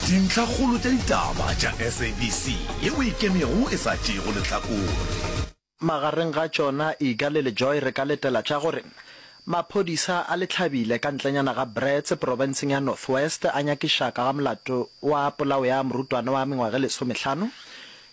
Dintlhakgolo tša ditaba tša SABC yeo e ikemego e sa tšeego lehlakore. Magareng ga tšona, Iga le LeJoy re ka letela tša gore maphodisa a le hlabile ka ntlenyana ga Brits profenseng ya North West a nyakiša ka ga molato wa polao ya morutwana wa mengwaga e lesomehlano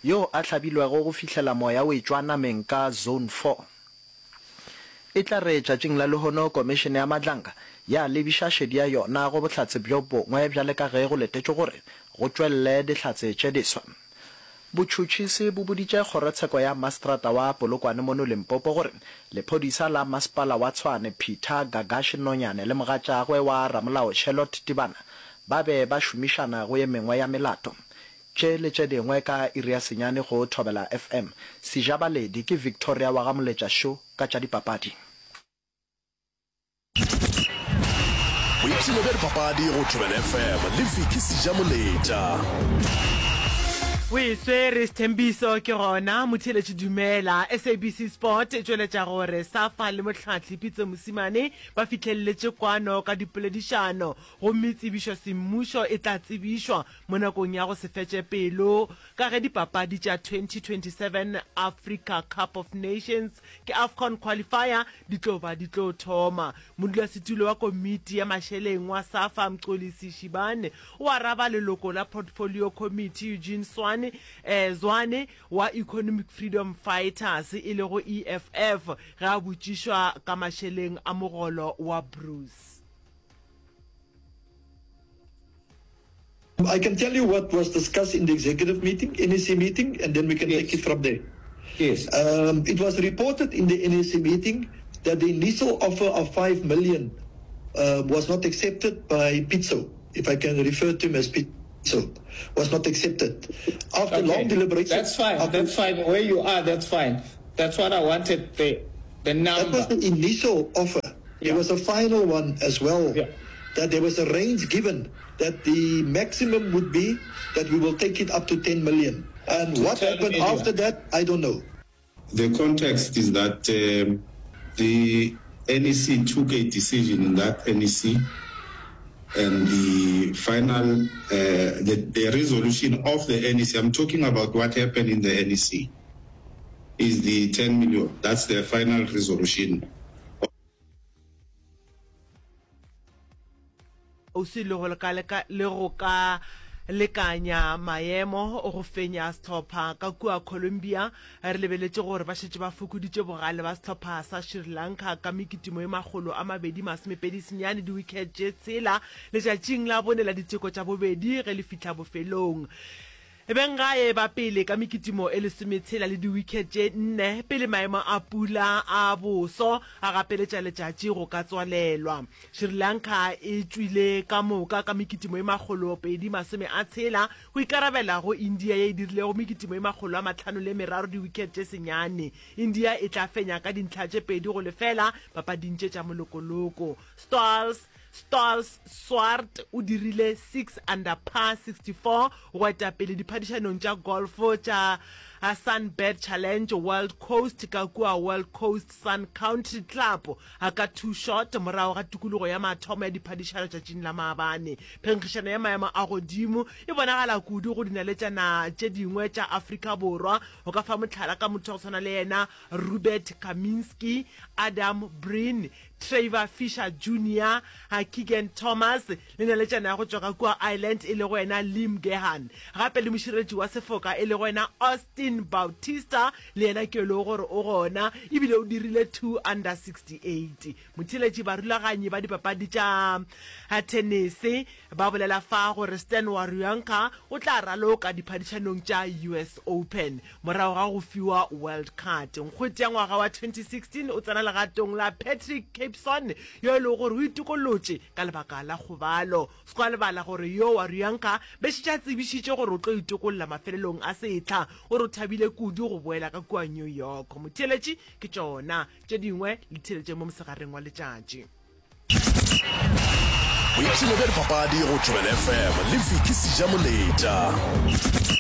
yo a hlabilwego go fihlela moya o etšwa nameng ka Zone 4. E tla re tšatšing la lehono Komišene ya Madlanga ya lebiša šedi ya yona go bohlatse bjo bongwe bjale ka ge go letetšwe gore go tšwelele dihlatse tše diswa. Botšhotšhisi bo boditše kgorotsheko ya mastrata wa Polokwane mono Limpopo gore lephodisa la masepala wa Tshwane Peter Gagashi Nonyane le mogatšagwe wa ramolao Charlotte Tibana ba be ba šomišana go ye mengwe ya melato. Tše le tše dingwe ka iri ya senyane go Thobela FM. Sejabaledi ke Victoria wa ga Moletša Sho ka tša dipapadi. Boipshino bja dipapadi go Thobela FM le Vicky Sejamoletša. O e swere Sthembiso ke gona motheeletši dumela. SABC Sport e tšweletša gore Safa le mohlahli Pitso Mosimane ba fihlelletše kwano ka dipoledišano gomme tsebišo semmušo e tla tsebišwa mo nakong ya go se fetše pelo ka ge dipapadi tša 2027 Africa Cup of Nations ke AFCON Qualifier di tlo ba di tlo thoma. Modulasetulo wa komiti ya mašeleng wa SAFA Mxolisi Shibane o araba leloko la Portfolio Committee Eugene Swane, eh, Zwane wa Economic Freedom Fighters e lego EFF ge a botšišwa ka mašeleng a mogolo wa Bruce. I can tell you what was discussed in the executive meeting, NEC meeting, and then we can take it from there. Yes. Um, it was reported in the NEC meeting that the initial offer of 5 million uh, was not accepted by Pitso, if I can refer to him as Pitso, was not accepted. After okay. long deliberations... That's fine, that's fine. Where you are, that's fine. That's what I wanted, the, the number. That was the initial offer. Yeah. There was a final one as well. Yeah. That there was a range given that the maximum would be that we will take it up to 10 million. And To what 10 happened million. after that, I don't know. The context is that um, the NEC took a decision in that NEC and the final, uh, the, the resolution of the NEC, I'm talking about what happened in the NEC, is the 10 million. That's the final resolution. Kgauswi le go le go ka lekanya maemo go fenya sehlopha ka kua Colombia, re lebeletše gore ba šetše ba fokoditše bogale ba sehlopha sa Sri Lanka ka mekitimo e 229 diwikhet tše tshela letšatšing la bone la diteko tša bobedi ge le fihla bofelong. Benggae ba pele ka mekitimo e lesometshela le diwikhet tše nne pele maemo a pula a boso a gapeletša letšatši go ka tswalelwa. Sri Lanka e tšwile ka moka ka mekitimo e 260 go ikarabela go India ye e dirilego mekitimo e 503 diwikhet tše senyane. India e tla fenya ka dintlha tše 2-0 papading tše tša molokoloko. Stals Stals Swart o dirile 6 under par 64 go eta pele diphadišanong tša golf tša Sunbird Challenge Wild Coast ka kua Wild Coast Sun Country Club ka two shot morago ga tikologo ya mathomo ya diphadišano tšatšing la maabane. Phenkgišano ya maemo a godimo e bonagala kudu go dinaletšana tše dingwe tša Afrika Borwa. Go ka fa mohlala ka motho wa go swana le yena Robert Kaminski, Adam Breen, Trevor Fisher Junior, Keegan Thomas le naletšana ya go tšwa ka kua Ireland e lego yena Liam Gehan. Gape le mošireletši wa sefoka e lego yena Austin Bautista le yena ke yo e lego gore o gona ebile o dirile 2 under 68. Motheeletši barulaganyi ba dipapadi tša thenese Ba bolela fa gore Stan Wawrinka o tla raloka diphadišanong tša US Open morago ga go fiwa Wild Card. Nkgwete ya ngwaga wa 2016 o tsena legatong la Patrick Capson yo e lego gore o itokolotše ka lebaka la kgobalo. Se kwa lebala gore yo Wawrinka be šetše a tsebišitše gore o tlo itokolla mafelelong a sehla. O re o thabile kudu go boela ka kua New York. Motheeletši ke tšona tše dingwe le theeletše mo mosegareng wa letšatši. Boipshino bja dipapadi go Thobela FM le Vicky Sejamoletša.